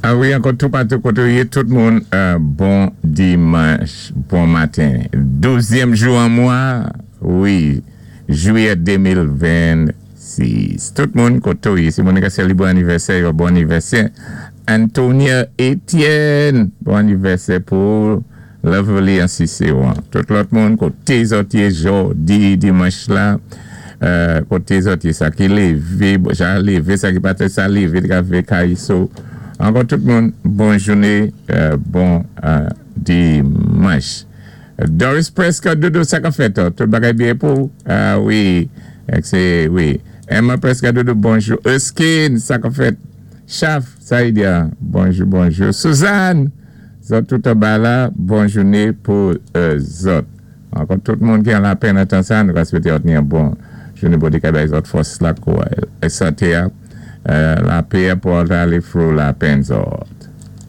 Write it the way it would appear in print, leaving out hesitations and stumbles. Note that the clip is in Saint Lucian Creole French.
A wi, ankò toupatou koté ou yé, tout moun, bon dimanch, bon maten. Douzyèm jou an mwa, wi, jwiyè 2026. Tout moun koté ou yé, si moun ka selebre anivèsè yo, bon anivèsè. Antonia Etienne, bon anivèsè pou ou. Loverly an Ciceron. Tout lòt moun, koté zòt yé jòdi dimanch la, koté zòt yé, sa ki lévé, ja lévé, sa ki pa té sa lévé, te ka vé kay so. Ankò tout moun, bon jouné, bon dimanch. Doris Prescott, Dodo, sa kap fèt? Tout bagay byen pou ou? Ah wi, se wi. Emma Prescott, Dodo, bonjou. Erskine, sa kap fèt? Chaf, Saïdia, bonjou, bonjou. Suzanne! Zòt tout anba la, bon jouné pou zòt. Ankò tout moun ki an lapenn nan tan sa, nou ka swété òt ni yon bon jouné. Bondye ka bay zòt fòs la kou santé a, lapè a pou òt alé through lapenn zòt.